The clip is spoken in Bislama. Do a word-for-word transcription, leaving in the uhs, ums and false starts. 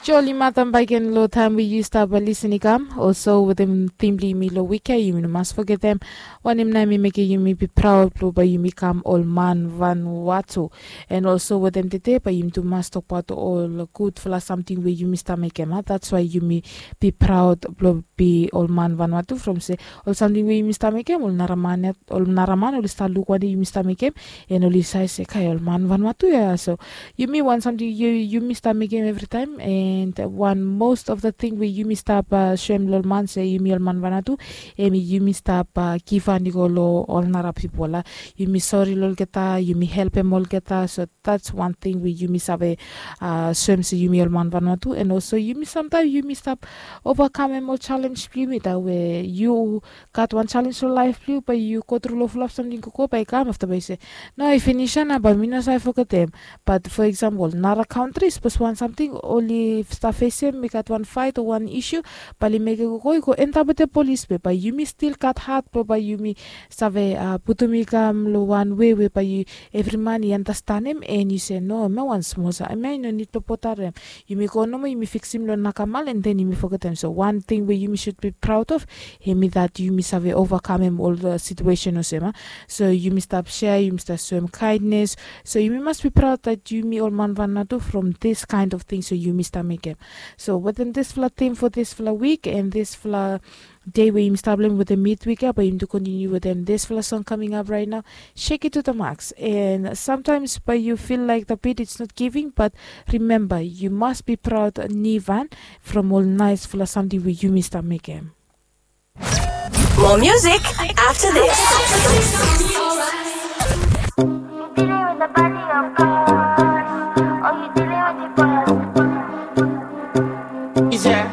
Joli matam baik gen long taim we yu stap lisin i kam. Olso wetem tim blong yumi long wik ya, yumi no mas fogetem wanem nao em i mekem yumi bi praod blong bae yumi kam ol man Vanuatu. And olso wetem tede bae yumi tu mas tokbaot ol gudfala samting we yumi stap mekem, a, that's why yumi bi praod blong bi ol man Vanuatu, from se ol samting we yumi stap mekem, ol nara man ya, ol nara man oli stap luk wanem yumi stap mekem, and oli save se, kai, ol man Vanuatu ya. So yumi wan samting yumi stap mekem evritaem, and wan most of the thing we yumi stap soem long ol man se yumi ol man Vanuatu, hemi yumi stap givhan i go long ol nara pipol, a. Yumi sori long olgeta, yumi helpem olgeta. So that's wan ting we yumi save soem se yumi ol man Vanuatu. And olso yumi samtaem yumi stap ovakamem ol jalenj blong yumi, dat we yu gat wan jalenj long laef blong yu, bae yu gotru long fulap samting gogo, bae i kam afta bae yu se, no, i finis ya nao, bae mi no save fogetem. Bat fo eksampol nara kantri, sapos wan samting oli stap fesem, i gat wan faet o wan isu, bae oli mekem gogo i go endap wetem polis, be bae yumi stil gat hat blong bae yumi save putum i kam long wan wei we bae evri man i andastanem, and yu se, no, hemia wan smol sa, hemia i no nid blong bodarem. Yumi go nomo, yumi fiksim long nakamal, and then yumi fogetem. So wan ting we yumi sud bi praod of, hemi dat yumi save ovakamem ol situesen olsem, a. So yumi stap sea, yumi stap soem kaendnes. So yumi mas bi praod dat yumi ol man Vanuatu from this kind of things we yumi stap mekem. So wetem disfala tim fo disfala wik and disfala dei we yumi stap long wetem midwik ya, bae yumi tu kontiniu wetem disfala song coming up right now, Shake It To The Max. And sometimes bae yu fil laek the beat it's not giving, but remember, yu mas bi praod nivan from ol naesfala samting we yumi stap mekem. More music after this. You dealing with the body of God, or you dealing with the boss? Is there?